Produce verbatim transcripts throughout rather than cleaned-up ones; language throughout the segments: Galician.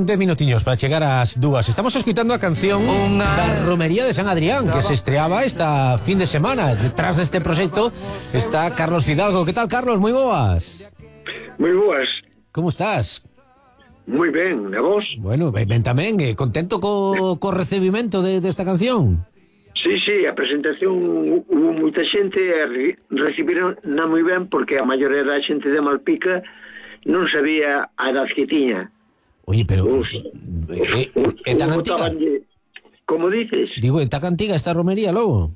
Faltan dez minutiños para chegar ás dúas. Estamos escuitando a canción da Romería de San Adrián, que se estreaba esta fin de semana. Detrás deste proxecto está Carlos Fidalgo. Que tal, Carlos? Moi boas. Moi boas. Como estás? Moi ben, e vos? Bueno, ben, ben tamén, eh, contento co, co recibimento de, desta canción. Sí, sí, a presentación hubo moita xente e recibiron na moi ben porque a maioría da xente de Malpica non sabía a edad que tiña. Oye, pero Uf, é, é tan antiga? Como dices? Digo, é tan antiga esta romería, logo?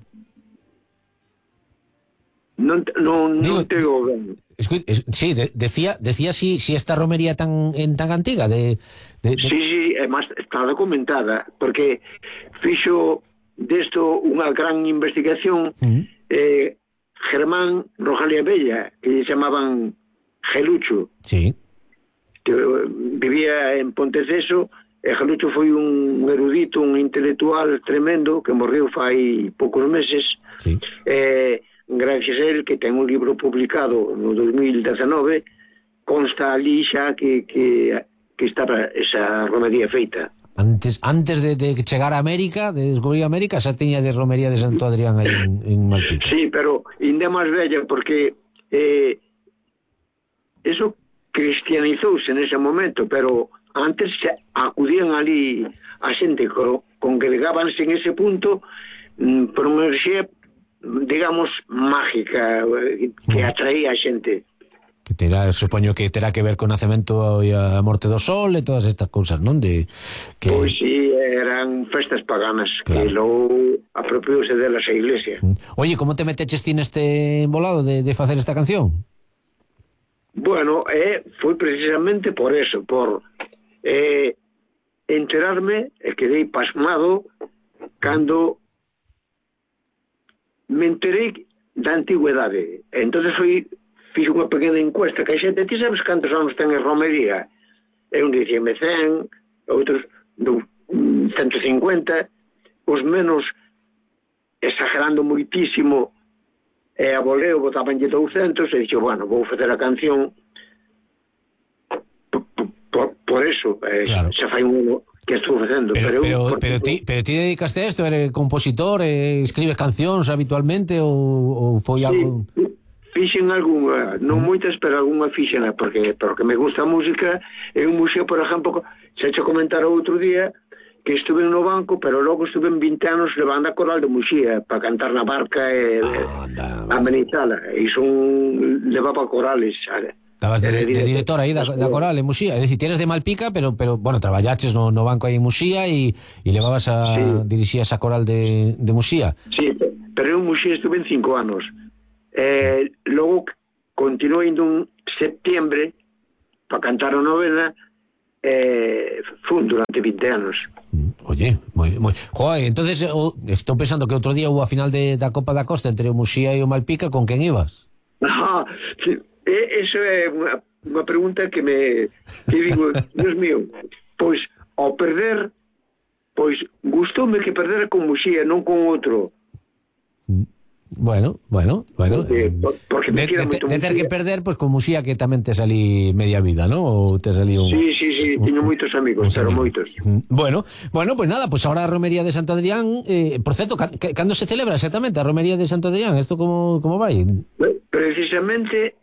Non, non, Digo, non te digo ben. Escu, es, sí, de, decía decía si, si esta romería tan en tan antiga de, de, de... Sí, sí, é máis está documentada porque fixo desto unha gran investigación uh-huh. eh, Germán Rojalia Bella, que lle chamaban Gelucho, sí, que vivía en Ponteceso, e Gelucho foi un erudito, un intelectual tremendo que morreu fai poucos meses, sí. eh, gracias a él, que ten un libro publicado no dos mil dezenove, consta ali xa que, que, que estaba esa romería feita. Antes antes de, de chegar a América, de descubrir América, xa tiña de romería de Santo Adrián aí en, en Malpica. Sí, pero ainda máis bella porque eh, eso cristianizouse nese momento, pero antes acudían ali a xente co, congregábanse en ese punto mm, por unha enerxía, digamos, mágica que atraía a xente. Que terá, supoño que terá que ver con o nacemento e a morte do sol e todas estas cousas, non? De que... Pois sí, eran festas paganas, claro, que logo apropiouse delas a iglesia. Oye, como te meteches ti neste embolado de, de facer esta canción? Bueno, eh, foi precisamente por eso, por eh, enterarme e quedei pasmado cando me enterei da antigüedade. Entonces foi fixe unha pequena encuesta que a xente, ti sabes cantos anos ten a romería? E un dicíame cen, outros ciento cincuenta, os menos exagerando moitísimo e a voleo botabanlle douscentos e dixo, bueno, vou facer a canción por, por, por eso, eh, claro. Xa fai un ano que estou facendo. Pero, pero, pero, por, pero, ti, pero ti dedicaste a isto? Eres compositor? Eh, escribes cancións habitualmente ou, ou foi algo... Sí. Fixen algunha, non moitas, pero algunha fixena, porque porque me gusta a música. En un museo, por exemplo, xa che comentara outro día, que estuve no banco, pero logo estuve en vinte anos levando a coral de Muxía, para cantar na barca e ah, amenizala. E son levaba corales, sabe? Estabas de, de, de director aí da, da coral en Muxía, é dicir, tienes de Malpica, pero, pero bueno, traballaches no, no banco aí en Muxía e, e levabas a, sí, dirixías a coral de, de Muxía. Sí, pero en Muxía estuve en cinco anos. Eh, logo continuei indo en septiembre para cantar a novena, eh, fun durante vinte anos. Oye, moi, moi... Joder, entonces oh, estou pensando que outro día hubo a final de, da Copa da Costa entre o Muxía e o Malpica, con quen ibas? Ah, sí, eso é unha, unha pregunta que me que digo, Dios mío, pois ao perder, pois gustoume que perdera con Muxía, non con outro. Bueno, bueno, bueno. Porque, porque me de, de, de ter que perder, pues con Muxía, que tamén te salí media vida, ¿no? Ou te salí un... Sí, sí, sí, teño moitos amigos, pero moitos. Bueno, bueno, pues nada, pues ahora a romería de Santo Adrián, eh, por certo, cando se celebra exactamente a romería de Santo Adrián? Esto como, como vai? Precisamente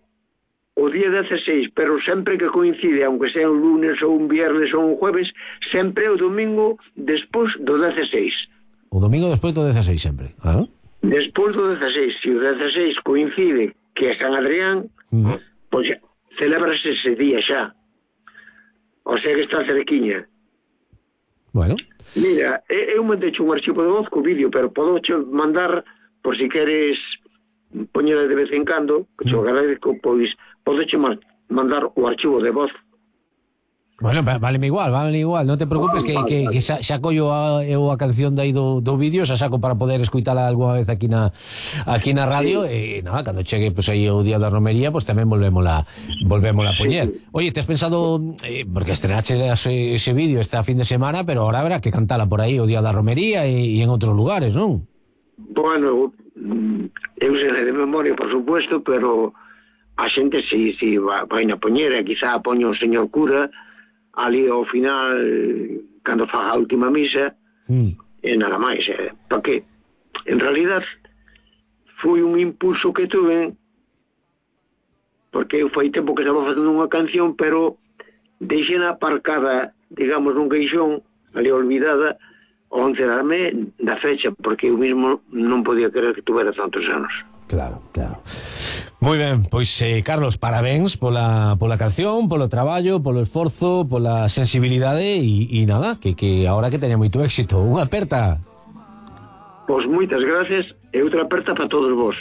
o día dezasseis, pero sempre que coincide, aunque sea un lunes ou un viernes ou un jueves, sempre o domingo despois do dezasseis. O domingo despois do dezasseis sempre, ah? Despois do dezasseis, se o dezasseis coincide que é San Adrián, uh-huh, pois celébrase ese día xa. O sea que está cerquiña. Bueno. Mira, eu mandei un archivo de voz co vídeo, pero podo che mandar, por si queres poñer de vez en cando, que te agradezco, pois podo che mandar o archivo de voz. Bueno, váleme igual, váleme igual, non te preocupes, que, que, que xa, xa collo a, eu a canción dai do, do vídeo, xa saco para poder escuitala alguna vez aquí na aquí na radio, sí, e nada, cando chegue pues, aí o día da romería, pues tamén volvémola volvémola a poñer. Sí. Oye, te has pensado, eh, porque estrenache ese, ese vídeo esta fin de semana, pero ahora habrá que cantala por aí o día da romería e, e en outros lugares, non? Bueno, eu sei de memoria, por supuesto, pero a xente si, si vai na poñera, quizá poño o señor cura, ali ao final, cando faga a última misa, mm. e nada máis, eh, porque en realidad foi un impulso que tuve, porque eu foi tempo que estaba facendo unha canción, pero deixena aparcada, digamos, nun queixón, ali olvidada, ao encerarme da fecha, porque eu mismo non podía creer que tuvera tantos anos. Claro, claro. Moi ben, pois eh, Carlos, parabéns pola, pola canción, polo traballo, polo esforzo, pola sensibilidade e, e nada, que, que ahora que teña moito éxito. Unha aperta. Pois moitas gracias e outra aperta para todos vos.